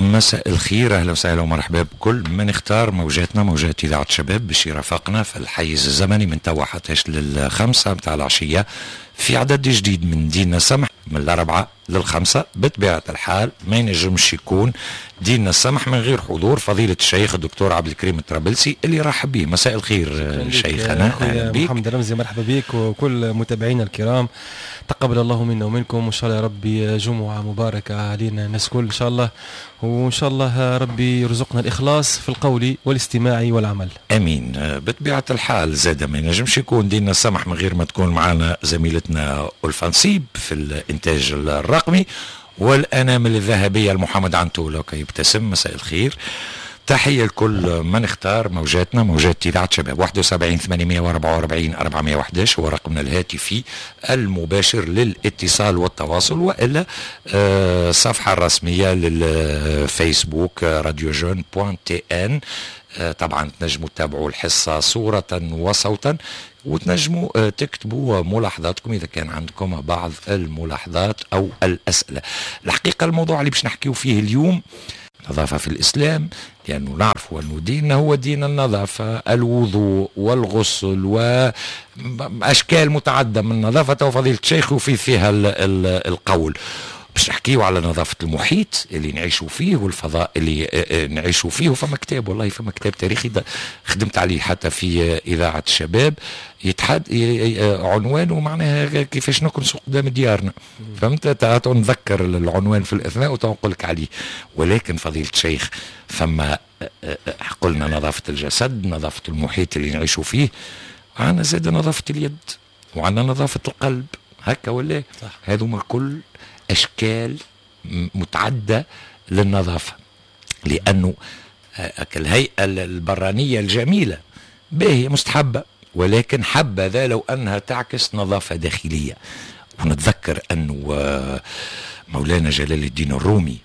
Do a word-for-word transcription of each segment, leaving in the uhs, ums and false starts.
مساء الخير، اهلا وسهلا ومرحبا بكل من اختار موجاتنا، موجات اذاعة شباب، باش يرافقنا في الحيز الزمني من توا حتى للخمسة متاع العشية في عدد جديد من ديننا سمح، من الاربعة للخمسة. بطبيعة الحال ما ينجمش يكون ديننا السمح من غير حضور فضيلة الشيخ الدكتور عبد الكريم الطرابلسي اللي رحب به. مساء الخير شيخنا. اهلا بك محمد رمزي، مرحبا بك وكل متابعينا الكرام، تقبل الله منا ومنكم، وان شاء الله يا ربي جمعه مباركة علينا الناس الكل ان شاء الله، وان شاء الله ربي يرزقنا الاخلاص في القول والاستماع والعمل. امين. بطبيعة الحال زاد ما ينجمش يكون ديننا السمح من غير ما تكون معنا زميلتنا ألفة نصيب في الانتاج الرقمي، والانامل الذهبية لمحمد عنتولو يبتسم. مساء الخير، تحية لكل من اختار موجاتنا، موجات إذاعة شباب. واحد وسبعين ثمانمائة وأربعة وأربعين أربعمائة وأحد عشر هو رقمنا الهاتفي المباشر للاتصال والتواصل، وإلا الصفحة الرسمية للفيسبوك radio jeunes point tn. طبعا تنجموا تتابعوا الحصة صورة وصوتا، وتنجموا تكتبوا ملاحظاتكم إذا كان عندكم بعض الملاحظات أو الأسئلة. الحقيقة الموضوع اللي باش نحكيو فيه اليوم نظافة في الإسلام، لأنه نعرف أنه ديننا هو دين النظافة، الوضوء والغسل وأشكال متعددة من النظافة، وفضيلة الشيخ وفي فيها القول. باش نحكيو على نظافة المحيط اللي نعيشوا فيه والفضاء اللي نعيشوا فيه. وفما كتاب، والله فما كتاب تاريخي خدمت عليه حتى في إذاعة الشباب، يتحد عنوانه معناها كيفاش نكنسوا قدام ديارنا، فهمت؟ نذكر العنوان في الأثناء وتنقول لك عليه. ولكن فضيلة الشيخ فما قلنا نظافة الجسد، نظافة المحيط اللي نعيشوا فيه، عندنا زاد نظافة اليد، وعندنا نظافة القلب، هكا ولا؟ هذوما الكل أشكال متعددة للنظافة، لأنه الهيئة البرانية الجميلة باهية مستحبة، ولكن حبذا لو أنها تعكس نظافة داخلية. ونتذكر أنه مولانا جلال الدين الرومي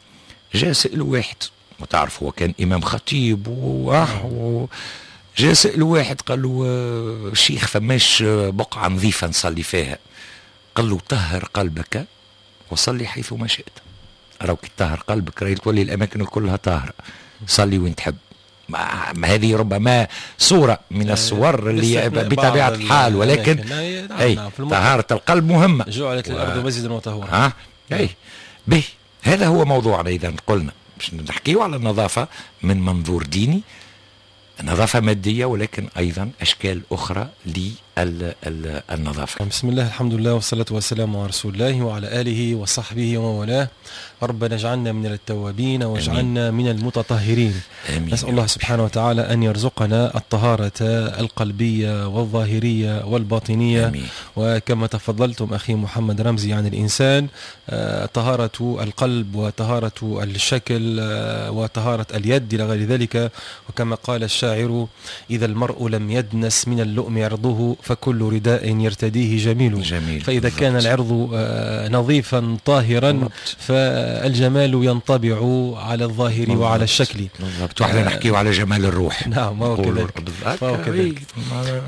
جاء سأل واحد، وتعرف هو كان إمام خطيب، و جاء سأل واحد قال له شيخ فماش بقعة نظيفة نصلي فيها؟ قال له طهر قلبك وصلي حيث ما شئت. راهو كي تطهر قلبك راهي تولي الاماكن كلها طاهرة، صلي وين تحب. ما هذه ربما صوره من الصور اللي بطبيعة الحال، ولكن اي طهارة القلب مهمة. جعلت الارض مسجدا وطهورا. ها اي به، هذا هو موضوعنا. اذا قلنا باش نحكيو على النظافة من منظور ديني، نظافة مادية، ولكن أيضا أشكال أخرى للنظافة. بسم الله، الحمد لله، والصلاة والسلام على رسول الله وعلى آله وصحبه ومن والاه. ربنا اجعلنا من التوابين واجعلنا من المتطهرين. آمين. نسأل الله سبحانه وتعالى أن يرزقنا الطهارة القلبية والظاهرية والباطنية. آمين. وكما تفضلتم أخي محمد رمزي عن الإنسان، طهارة القلب وطهارة الشكل وطهارة اليد إلى غير ذلك. وكما قال الشاعر: إذا المرء لم يدنس من اللؤم عرضه فكل رداء يرتديه جميل. جميل. فإذا بالضبط. كان العرض نظيفا طاهرا بالضبط. فالجمال ينطبع على الظاهر بالضبط. وعلى الشكل بالضبط. واحنا آه نحكيو على جمال الروح. نعم، وهو كذلك.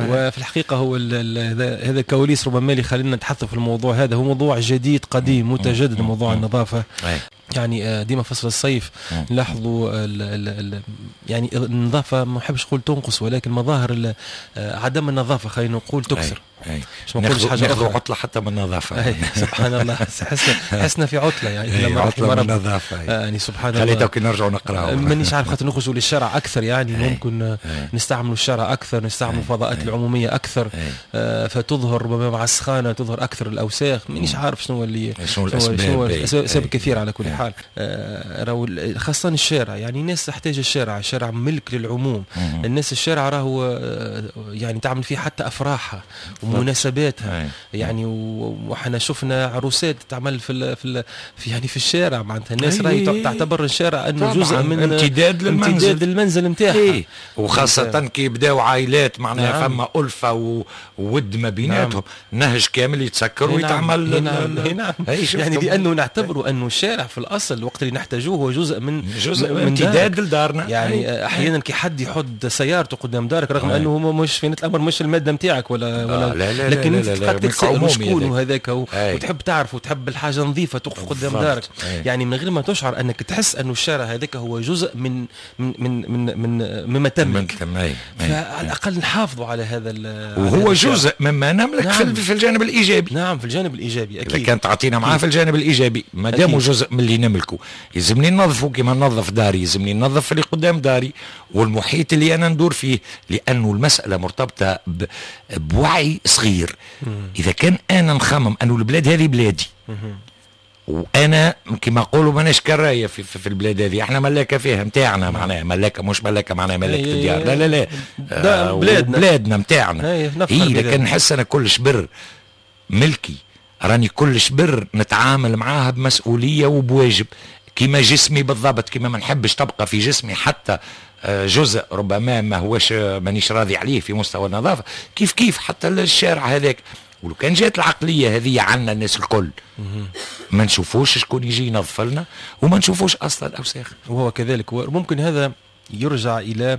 وفي الحقيقة هو هذا الكواليس ربما اللي خلينا نتحدث في الموضوع هذا، هو موضوع جديد قديم متجدد، موضوع النظافة. يعني ديما فصل الصيف نلاحظوا يعني النظافة، ما نحبش نقول تنقص، ولكن مظاهر عدم النظافة خلينا نقول تكثر. أي. مش ما نقولش حاجة أخرى، عطلة حتى من النظافة. أي. سبحان الله، حسنا حسنا في عطلة يعني لما عطلة من النظافة. يعني سبحان الله، خلينا كي نرجعوا نقراو. مانيش عارف، خاطر نخرجوا للشارع أكثر، يعني أي. ممكن أي. نستعملوا الشارع أكثر، نستعملوا الفضاءات العمومية أكثر، آه فتظهر ربما مع السخانة تظهر أكثر الأوساخ. مانيش عارف شنو اللي شنو الأسباب، الأسباب كثيرة على كل حال. آه خاصة الشارع، يعني الناس تحتاج الشارع، الشارع ملك للعموم. مم. الناس الشارع راهو يعني تعمل فيه حتى أفراحها ومناسباتها. يعني وحنا شفنا عروسات تعمل في في في يعني في الشارع، معناتها الناس راهي تعتبر الشارع انه جزء من امتداد للمنزل، امتداد المنزل نتاعها. وخاصة كي يبداو عائلات معناها. نعم. فما ألفة وود ما بيناتهم. نعم. نهج كامل يتسكر ويتعمل. نعم. نعم. يعني لأنه نعتبره أنه الشارع في الأصل وقت اللي نحتاجوه هو جزء من جزء من امتداد لدارنا. يعني أحيانا كي حد يحط سيارته قدام دارك، رغم أنه هو مش في الأمر مش المادة نتاعك ولا ولا لا لا لكن لا انت لا لا تبقى تسال شكون هذاك وتحب تعرف وتحب الحاجة نظيفة تقف قدام دارك. أي. يعني من غير ما تشعر انك تحس انه الشارع هذاك هو جزء من من من من, من مما تملك. فعلى الاقل نحافظوا على هذا، وهو جزء مما نملك. نعم. في الجانب الايجابي. نعم في الجانب الايجابي اكيد. اذا كان تعطينا معاه في الجانب الايجابي ما دام جزء من اللي نملكه يلزمني ننظفه كما ننظف داري، يلزمني ننظف اللي قدام داري والمحيط اللي انا ندور فيه، لانه المسالة مرتبطة بوعي صغير. مم. اذا كان انا نخمم انه البلاد هذه بلادي، مم. وانا كما نقولوا ماناش كرايه في, في, في البلاد هذه، احنا ملاكه فيها نتاعنا، معناها ملاكه مش ملاكه معناها ملاكه الديار، لا لا لا آه بلادنا بلادنا نتاعنا. اي لكن نحس انا كل شبر ملكي، راني كل شبر نتعامل معاها بمسؤولية وبواجب، كما جسمي بالضبط، كما ما نحبش تبقى في جسمي حتى جزء ربما ما هوش مانيش راضي عليه في مستوى النظافة، كيف كيف حتى الشارع هذاك. ولو كان جات العقلية هذه عنا الناس الكل ما نشوفوش شكون يجي ينظف لنا وما نشوفوش اصلا الاوساخ. وهو كذلك، وممكن هذا يرجع الى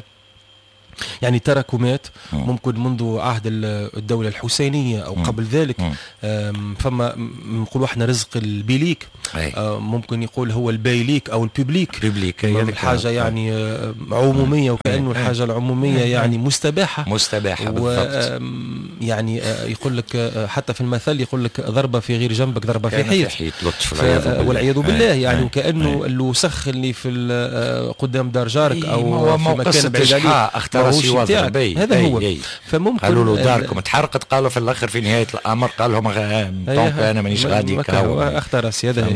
يعني تراكمات ممكن منذ عهد الدولة الحسينية أو قبل ذلك. فما نقولوا احنا رزق البيليك، ممكن يقول هو البايليك أو ال public، public الحاجة يعني عمومية، وكأنه الحاجة العمومية يعني مستباحة مستباحة بالضبط. يعني يقول لك حتى في المثل يقول لك ضربة في غير جنبك ضربة في حيط، في حيط لطف والعياذ بالله. يعني وكأنه الوسخ اللي في قدام دار جارك أو في مكان بعيد عليك هذا هو. أي. فممكن قالوا له داركم اتحرقت، قالوا في الاخر في نهاية الامر قال لهم donc انا مانيش غادي اختار راسي هذا.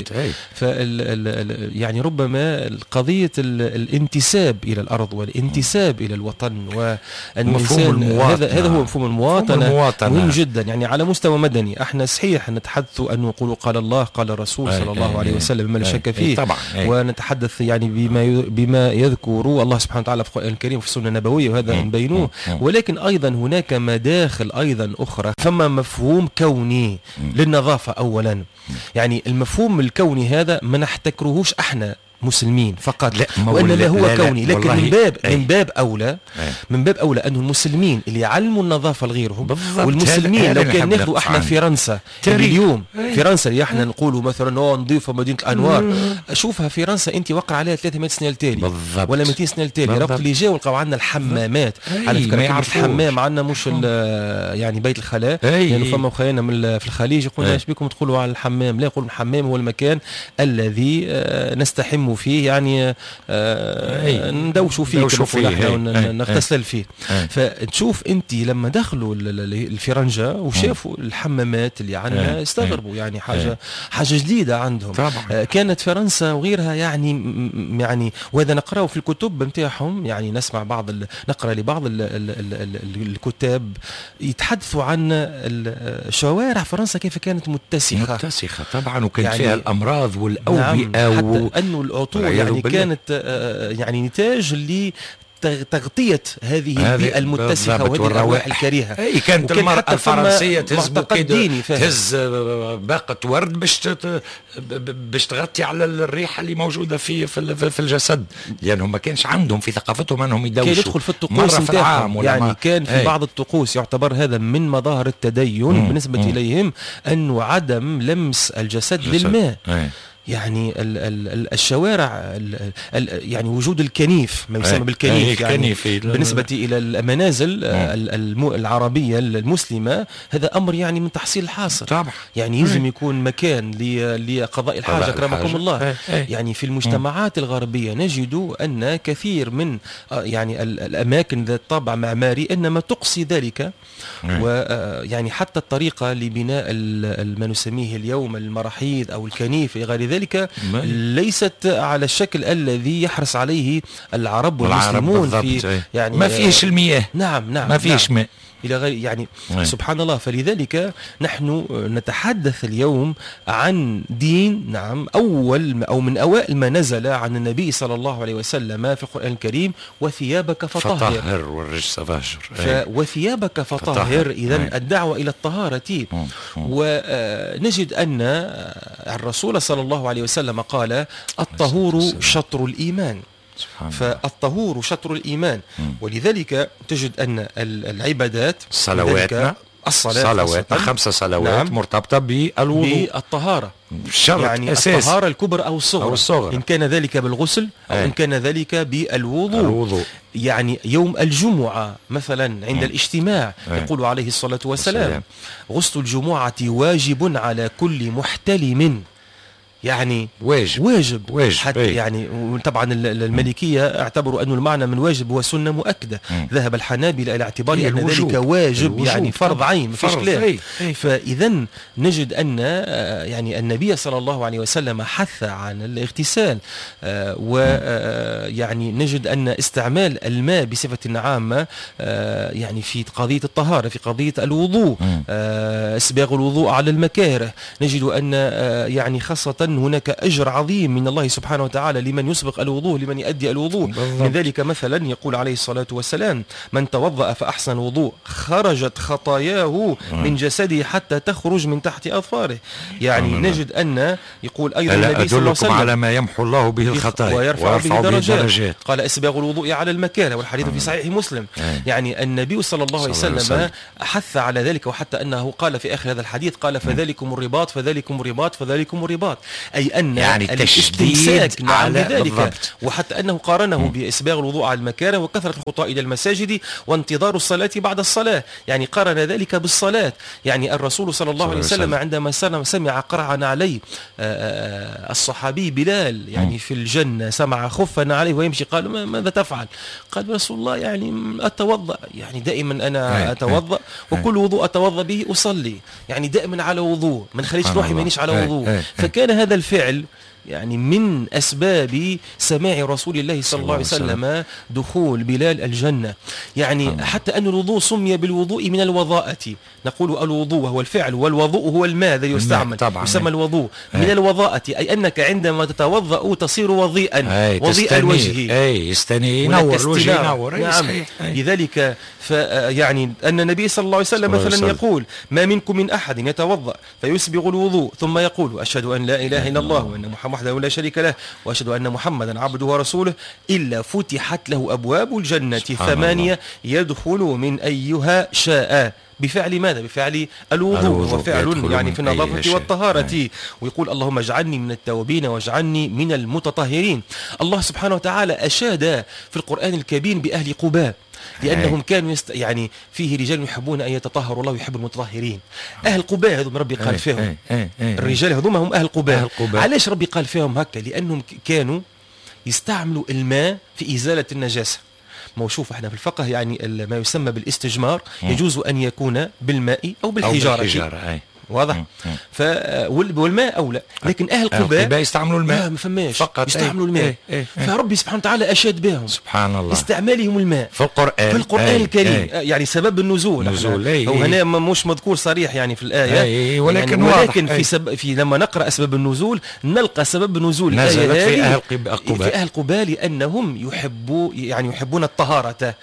فال يعني ربما قضية الانتساب الى الارض والانتساب الى الوطن ومفهوم هذا هذا هو مفهوم المواطنة، المواطنة مهم جدا. يعني على مستوى مدني احنا صحيح نتحدث ان نقول قال الله قال الرسول صلى الله عليه وسلم ما لا شك فيه طبعا، ونتحدث يعني بما بما يذكر الله سبحانه وتعالى في القران الكريم وفي السنة النبوية وهذا نبينوه، ولكن أيضا هناك مداخل أيضا أخرى. فما مفهوم كوني للنظافة أولا، يعني المفهوم الكوني هذا ما نحتكرهوش احنا مسلمين فقط، لا وإنما هو لا لا كوني. لكن من باب أي. من باب أولى أي. من باب أولى أنه المسلمين اللي يعلموا النظافة لغيرهم، والمسلمين لو كان ناخذوا احنا فرنسا اليوم، أي. فرنسا اللي احنا نقولوا مثلا نظيفة مدينة الأنوار، شوفها فرنسا أنت وقع عليها ثلاثمائة سنة التالي ولا مئتين سنة التالي، رغم اللي جاوا لقاو عندنا الحمامات. على فكرة الحمام عندنا مش يعني بيت الخلاء، لأنه يعني فما خيالنا من في الخليج يقولوا ايش بكم تقولوا على الحمام؟ لا، يقولوا الحمام هو المكان الذي نستحم فيه، يعني آه ندوشوا فيه كما نغتسل فيه. فتشوف انت لما دخلوا الفرنجة وشافوا الحمامات اللي عندنا استغربوا، يعني حاجة حاجة جديدة عندهم. آه كانت فرنسا وغيرها يعني يعني وهذا نقراه في الكتب نتاعهم، يعني نسمع بعض ال... نقرا لبعض ال... ال... ال... الكتاب يتحدثوا عن شوارع فرنسا كيف كانت متسخة متسخة طبعا، وكانت يعني فيها الأمراض والأوبئة. نعم، حتى أنه العطور يعني كانت يعني نتاج ل تغطية هذه البيئة المتسخة وهذه الروائح الكريهة. أي كانت المرأة الفرنسية تهز تهز باقة ورد باش باش تغطي على الريحة اللي موجودة في في الجسد، لأنهم ما كانش عندهم في ثقافتهم أنهم يدوشوا. كان يدخل في الطقوس نتاعهم، يعني كان في بعض الطقوس يعتبر هذا من مظاهر التدين مم. بالنسبة مم. إليهم، أنه عدم لمس الجسد للماء. أي. يعني ال ال الشوارع ال ال يعني وجود الكنيف، ما يسمى بالكنيف، يعني بالنسبة إلى المنازل العربية المسلمة هذا أمر يعني من تحصيل الحاصل طبعا. يعني يلزم يكون مكان لقضاء الحاجة أكرمكم الله. يعني في المجتمعات الغربية نجد أن كثير من يعني الأماكن ذات طابع معماري إنما تقصي ذلك، ويعني حتى الطريقة لبناء ما نسميه اليوم المراحيض أو الكنيف إلى غير ذلك ليست على الشكل الذي يحرص عليه العرب والمسلمون في يعني ما فيش المياه. نعم نعم ما فيش نعم. ماء إلى غير يعني أي. سبحان الله. فلذلك نحن نتحدث اليوم عن دين، نعم، أول أو من أوائل ما نزل عن النبي صلى الله عليه وسلم في القرآن الكريم: وثيابك فطهر. فطهر والرجس فاهجر. ف... وثيابك فطهر. إذن الدعوة إلى الطهارة. ونجد أن الرسول صلى الله عليه وسلم قال: الطهور شطر الإيمان. فالطهور شطر الإيمان. مم. ولذلك تجد أن العبادات صلواتنا، الصلاة، صلوات خمسة صلوات نعم. مرتبطة بالوضوء، بالطهارة، شرط يعني أساسي. الطهارة الكبرى أو الصغرى، أو الصغرى، إن كان ذلك بالغسل أو أي. إن كان ذلك بالوضوء. الوضوء. يعني يوم الجمعة مثلا عند م. الاجتماع أي. يقول عليه الصلاة والسلام والسلام. غسل الجمعة واجب على كل محتلم، يعني واجب واجب, واجب. حتى أي. يعني طبعا المالكية اعتبروا أن المعنى من واجب هو سنة مؤكدة. مم. ذهب الحنابلة إلى اعتبار إيه أن الوجوب. ذلك واجب، الوجوب. يعني فرض عين، ما فيش كلام. أي. أي. فإذا نجد أن يعني النبي صلى الله عليه وسلم حث عن الاغتسال، ويعني نجد أن استعمال الماء بصفة عامة يعني في قضية الطهارة، في قضية الوضوء، اسباغ الوضوء على المكاره، نجد أن يعني خاصة هناك أجر عظيم من الله سبحانه وتعالى لمن يسبق الوضوء، لمن يؤدي الوضوء. بالضبط. من ذلك مثلا يقول عليه الصلاة والسلام من توضأ فأحسن وضوء خرجت خطاياه من جسده حتى تخرج من تحت أظفاره. يعني آمين. نجد أن يقول أيضا النبي صلى الله عليه وسلم أدلكم على ما يمحو الله به الخطايا ويرفع, ويرفع به درجات. درجات. قال إسباغ الوضوء على المكاره، والحديث في صحيح مسلم. آمين. يعني النبي صلى الله عليه صلى الله وسلم عليه حث على ذلك، وحتى أنه قال في آخر هذا الحديث قال فذلكم الرباط فذلكم الرباط فذلكم الرباط، أي أن يعني الاستمساك نعم على بذلك. بالضبط. وحتى أنه قارنه م. بإسباغ الوضوء على المكاره وكثرة الخطى إلى المساجد وانتظار الصلاة بعد الصلاة، يعني قارن ذلك بالصلاة. يعني الرسول صلى الله عليه وسلم عندما سمع قرعا عليه الصحابي بلال يعني م. في الجنة، سمع خفا عليه ويمشي، قال ماذا تفعل؟ قال رسول الله يعني أتوضأ، يعني دائما أنا أتوضأ وكل وضوء أتوضأ به أصلي، يعني دائما على وضوء، ما نخليش روحي مانيش على وضوء. فكان هذا الفعل يعني من أسباب سماع رسول الله صلى الله عليه وسلم دخول بلال الجنة. يعني حتى أن الوضوء سمي بالوضوء من الوضاءة، نقول الوضوء وهو الفعل، والوضوء هو الماء الذي يستعمل، يسمى الوضوء من الوضاءة، أي أنك عندما تتوضأ تصير وضيئا، وضيء الوجه، أي يستني ينور الوجه، ينور. نعم. لذلك يعني أن النبي صلى الله عليه وسلم مثلا يقول ما منكم من أحد يتوضأ فيسبغ الوضوء ثم يقول أشهد أن لا إله إلا الله وأن محمد وحده لا شريك له وأشهد أن محمدا عبده ورسوله إلا فتحت له أبواب الجنة ثمانية يدخل من أيها شاء. بفعل ماذا؟ بفعل الوضوء، وفعل يعني في النظافة والطهارة. ويقول اللهم اجعلني من التوابين واجعلني من المتطهرين. الله سبحانه وتعالى أشاد في القرآن الكريم بأهل قباء لأنهم كانوا يست... يعني فيه رجال يحبون أن يتطهروا والله يحب المتطهرين. أهل قباء هذوم ربي قال فيهم، الرجال هذوما هم أهل قباء. علاش ربي قال فيهم هكا؟ لأنهم كانوا يستعملوا الماء في إزالة النجاسة. ما شوف احنا في الفقه يعني ما يسمى بالاستجمار يجوز أن يكون بالماء أو بالحجارة, أو بالحجارة. أي. واضح؟ ف والماء اولى، لكن اهل قباء يستعملوا الماء، ما فماش فقط يستعملوا الماء. ايه ايه ايه. فربي سبحانه وتعالى اشاد بهم سبحان الله استعمالهم الماء في القرآن، في القرآن ايه الكريم. ايه. يعني سبب النزول نزول ايه هو هنا مش مذكور صريح يعني في الايه، ايه ولكن يعني ولكن واضح. في سب في لما نقرا اسباب النزول نلقى سبب نزول نزلت في اهل قباء، في اهل قباء لانهم يحبوا يعني يحبون الطهارة،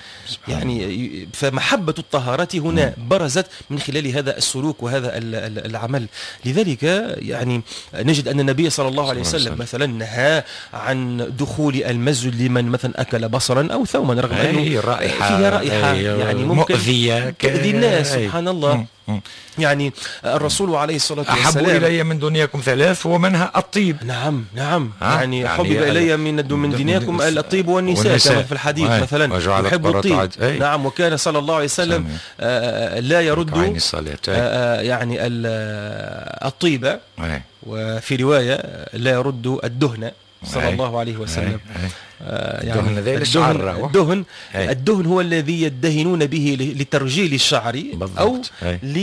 يعني فمحبه الطهارة هنا برزت من خلال هذا السلوك وهذا العمل. لذلك يعني نجد أن النبي صلى الله عليه وسلم مثلا نهى عن دخول المسجد لمن مثلا أكل بصرا أو ثوما، رغم أنه رائحة فيها رائحة يعني ممكن مؤذية تؤذي الناس. سبحان الله. يعني الرسول عليه الصلاة والسلام أحب إلي من دنياكم ثلاث ومنها الطيب. نعم نعم، يعني, يعني حبب إلي من من دنياكم الطيب والنساء, والنساء كما في الحديث مثلا يحب الطيب. نعم. وكان صلى الله عليه وسلم آه لا يرد آه يعني الطيبة، وفي رواية لا يرد الدهن صلى الله عليه وسلم. آه يعني الدهن الدهن, الدهن هو الذي يدهنون به لترجيل الشعر أو ل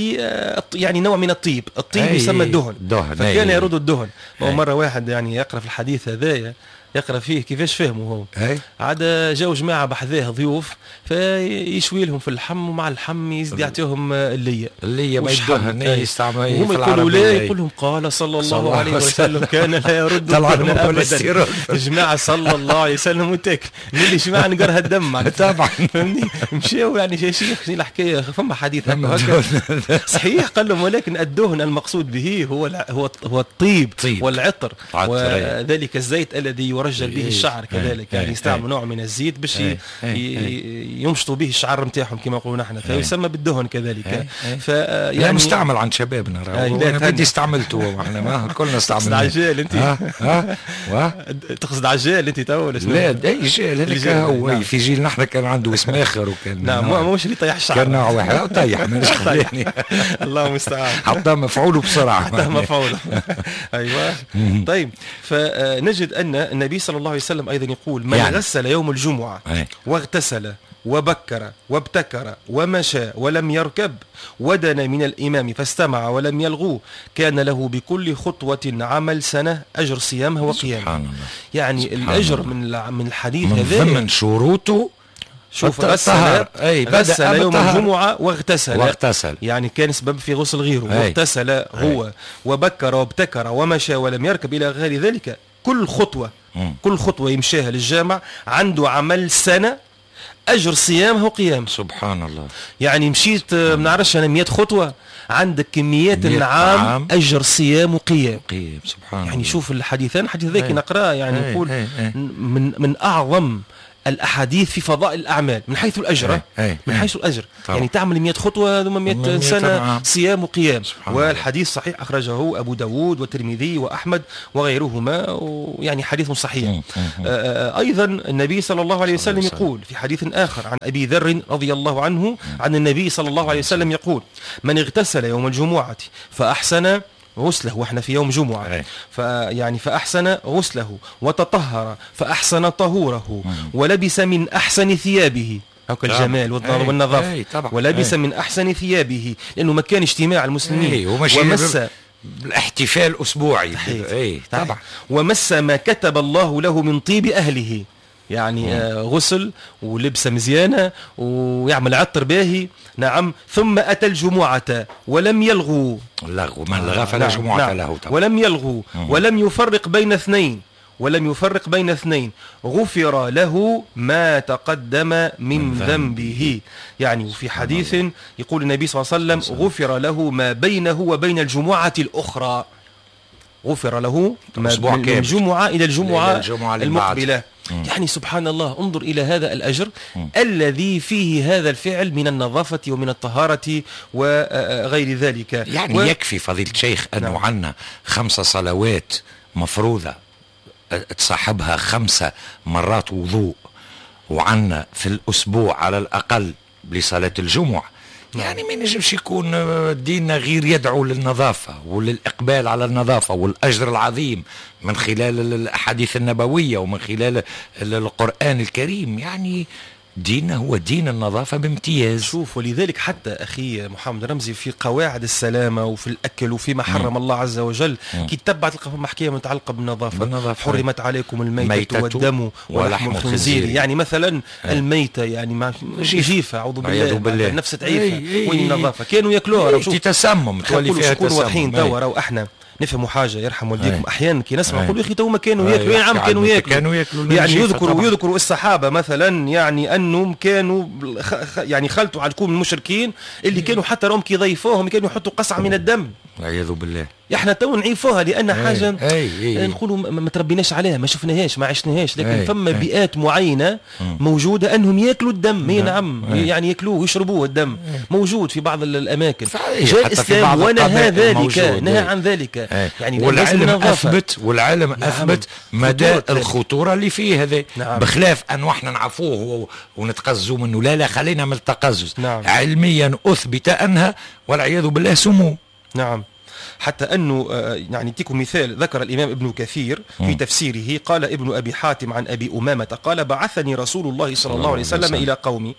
يعني نوع من الطيب، الطيب يسمى الدهن، فكان يرد الدهن. ومرة واحد يعني يقرأ في الحديث هذايا يقرا فيه كيفاش فهموا هو، عاد جاو جماعة بحذاه ضيوف فيشوي لهم في اللحم، ومع اللحم يزيد يعطيهم الليه الليه ما يدهن يستعمل في العربية، لا يقول لهم قال صلى الله عليه وسلم كان لا يرد الدهن ابدا. جماعة صلى الله عليه وسلم. وسلم وتاكل. اللي جماعة نقرها الدم طبعا فهمني. مشاو يعني يا شيخ شنو الحكاية، فما حديث هكا صحيح قال لهم، ولكن الدهن المقصود به هو هو هو الطيب والعطر وذلك الزيت الذي يرجل به الشعر كذلك، يعني يستعملوا نوع من الزيت باش يمشطوا به الشعر نتاعهم كما نقولوا نحن، فيسمى بالدهن كذلك. ف يعني مستعمل عند شبابنا راهو، انا بدي استعملته، احنا ما كلنا استعملناه. عجال انت ها تقصد عجال انت تو ولا شنو؟ لا اي جيل هذاك هو. نعم. في جيل نحن كان عنده اسم اخر وكان نعم مش اللي طيح الشعر، كان نوع واحد طيح مانيش خليني الله المستعان، حطاه مفعوله بسرعة، حطاه مفعوله. ايوه طيب، فنجد ان النبي صلى الله عليه وسلم ايضا يقول من يعني. غسل يوم الجمعة واغتسل وبكر وابتكر ومشى ولم يركب ودنا من الإمام فاستمع ولم يلغوه كان له بكل خطوة عمل سنة أجر صيامها وقيامها. سبحان الله. يعني سبحان الأجر الله. من من الحديث من هذا ضمن شروطه شوف غسل غسل يوم الجمعة واغتسل واغتسل، يعني كان سبب في غسل غيره، واغتسل هو وبكر وابتكر ومشى ولم يركب إلى غير ذلك. كل خطوة م. كل خطوة يمشيها للجامع عنده عمل سنة أجر صيامه وقيامه. سبحان الله. يعني مشيت ما نعرفش أنا مئة خطوة عندك كميات النعام أجر صيام وقيام. قيام سبحان يعني الله. شوف الحديثان، الحديث ذاك نقراه يعني نقول من من أعظم الأحاديث في فضائل الأعمال من حيث الأجر، من حيث الأجر طبعا. يعني تعمل مئة خطوة ثم مئة سنة صيام وقيام. والحديث صحيح أخرجه أبو داود والترمذي وأحمد وغيرهما، ويعني حديث صحيح. أيضا النبي صلى الله عليه وسلم يقول في حديث آخر عن أبي ذر رضي الله عنه عن النبي صلى الله عليه وسلم يقول من اغتسل يوم الجمعة فأحسن غسله، واحنا في يوم جمعة، فيعني فأحسن غسله وتطهر فأحسن طهوره ولبس من أحسن ثيابه، هكا الجمال والنظافة، ولبس من أحسن ثيابه لأنه مكان اجتماع المسلمين، ومس الاحتفال أسبوعي أي طبعا، ومس ما كتب الله له من طيب أهله، يعني آه غسل ولبسة مزيانة ويعمل عطر باهي. نعم. ثم أتى الجمعة ولم يلغوا، لغو من لغى فلا نعم. جمعة نعم. له طبعا. ولم يلغوا ولم يفرق بين اثنين ولم يفرق بين اثنين غفر له ما تقدم من, من ذنبه. يعني وفي حديث يقول النبي صلى الله عليه وسلم غفر له ما بينه وبين الجمعة الأخرى، غفر له ما من الجمعة إلى الجمعة, الجمعة المقبلة. مم. يعني سبحان الله، انظر إلى هذا الأجر مم. الذي فيه هذا الفعل من النظافة ومن الطهارة وغير ذلك. يعني و... يكفي فضيلة الشيخ أنه نعم. عنا خمسة صلوات مفروضة تصاحبها خمسة مرات وضوء، وعنا في الأسبوع على الأقل لصلاة الجمعة. يعني ما ينجمش يكون ديننا غير يدعو للنظافة وللإقبال على النظافة والأجر العظيم من خلال الأحاديث النبوية ومن خلال القرآن الكريم. يعني ديننا هو دين النظافة بامتياز. شوف، ولذلك حتى أخي محمد رمزي في قواعد السلامة وفي الأكل وفيما حرم مم. الله عز وجل كي تتبع تلقى فما حكاية متعلقة بالنظافة. بالنظافة. حرمت عليكم الميتة والدم ولحم الخنزير. يعني مثلا أي. الميتة يعني مع جيفة، أعوذ بالله, بالله. نفس تعيفة. وين النظافة؟ كانوا ياكلوها. تتسمم، تولي فيها تسمم. واضحين توا راهو احنا نفهموا حاجة يرحم والديكم. احيانا كي نسمع نقول يا اخي تو ما كانوا ياكلوا، نعم كانوا ياكلوا، كانوا ياكلوا. يعني يذكروا يذكروا الصحابة مثلا يعني انهم كانوا يعني خلطوا على الكوم المشركين اللي كانوا حتى راهم كي ضيفوهم كانوا يحطوا قصعه من الدم، والعياذ بالله. احنا تو نعيفوها لان حاجة أي أي. نقولوا ما تربيناش عليها، ما شفناهاش، ما عشناهاش، لكن أي فما أي. بيئات معينة موجودة انهم ياكلوا الدم. اي نعم أي. يعني ياكلوه ويشربوه الدم. أي. موجود في بعض الاماكن. جاء الاسلام ونهى ذلك، نهى عن ذلك. أي. يعني والعلم اثبت، والعلم نعم. اثبت مدى الخطورة اللي فيه هذا. نعم. بخلاف ان احنا نعفوه ونتقزوا منه، لا لا خلينا من التقزز. نعم. علميا اثبت انها والعياذ بالله سموم. نعم. حتى أنه يعني أعطيكم مثال، ذكر الإمام ابن كثير في تفسيره قال ابن أبي حاتم عن أبي أمامة قال بعثني رسول الله صلى الله عليه وسلم إلى قومي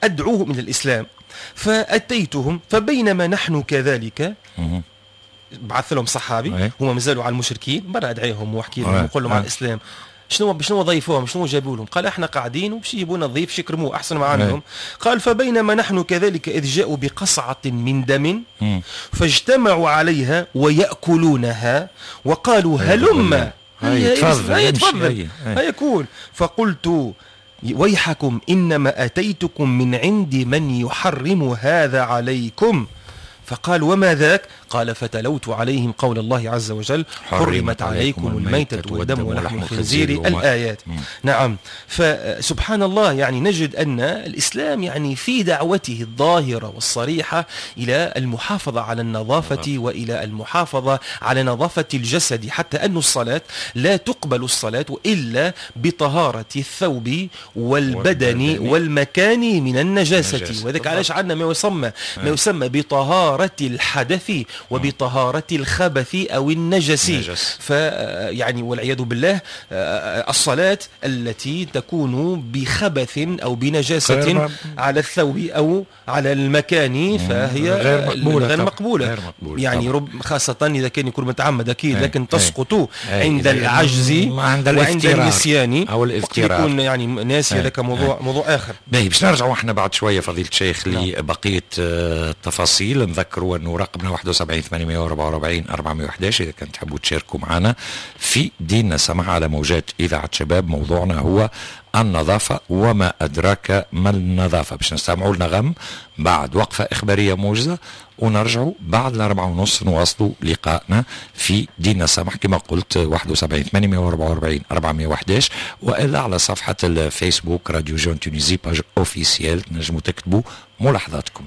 أدعوهم إلى الإسلام فأتيتهم فبينما نحن كذلك، بعث لهم صحابي هم مازالوا على المشركين، برا أدعيهم وأحكي لهم وقول لهم على الإسلام، شنو شنو ضيفوهم، شنو جابوا لهم؟ قال احنا قاعدين وباش يجيبوا لنا ضيف يكرموه احسن ما عندهم. قال فبينما نحن كذلك اذ جاءوا بقصعه من دم فاجتمعوا عليها وياكلونها وقالوا هلم هيا تفضل، تفضل، هيا كول. فقلت ويحكم، إنما أتيتكم من عند من يحرم هذا عليكم. فقال وما ذاك؟ قال فتلوت عليهم قول الله عز وجل حرمت عليكم الميتة والدم ولحم الخنزير، الآيات. مم. نعم. فسبحان الله، يعني نجد أن الإسلام يعني في دعوته الظاهرة والصريحة إلى المحافظة على النظافة وإلى المحافظة على نظافة الجسد، حتى أن الصلاة لا تقبل الصلاة إلا بطهارة الثوب والبدن والمكان من النجاسة. وذلك علاش عندنا ما يسمى ما يسمى بطهارة الحدث وبطهارة الخبث أو النجس. فيعني والعياذ بالله الصلاة التي تكون بخبث أو بنجاسة على الثوب أو على المكان فهي غير مقبولة، غير مقبولة. غير مقبولة يعني رب خاصة إذا كان يكون متعمد أكيد، لكن تسقط عند العجز وعند النسيان أو الاضطرار، يكون يعني ناسي، هذاك موضوع موضوع آخر. باهي، باش نرجعوا احنا بعد شوية فضيلة الشيخ لبقية التفاصيل. نذكروا أنه رقمنا واحد وسبعين ثمانمائة وأربعة وأربعين أربعمائة وأحد عشر إذا كنت تحبوا تشاركوا معنا في ديننا سمح على موجات إذاعة شباب. موضوعنا هو النظافة وما أدراك ما النظافة. باش نستمعوا لنغم بعد وقفة إخبارية موجزة، ونرجعوا بعد الأربعة ونص نواصلوا لقائنا في ديننا سمح كما قلت واحد وسبعين ثمانمائة وأربعة وأربعين أربعمائة وأحد عشر، وإلا على صفحة الفيسبوك Radio Jeune Tunisie page officielle تنجموا تكتبوا ملاحظاتكم.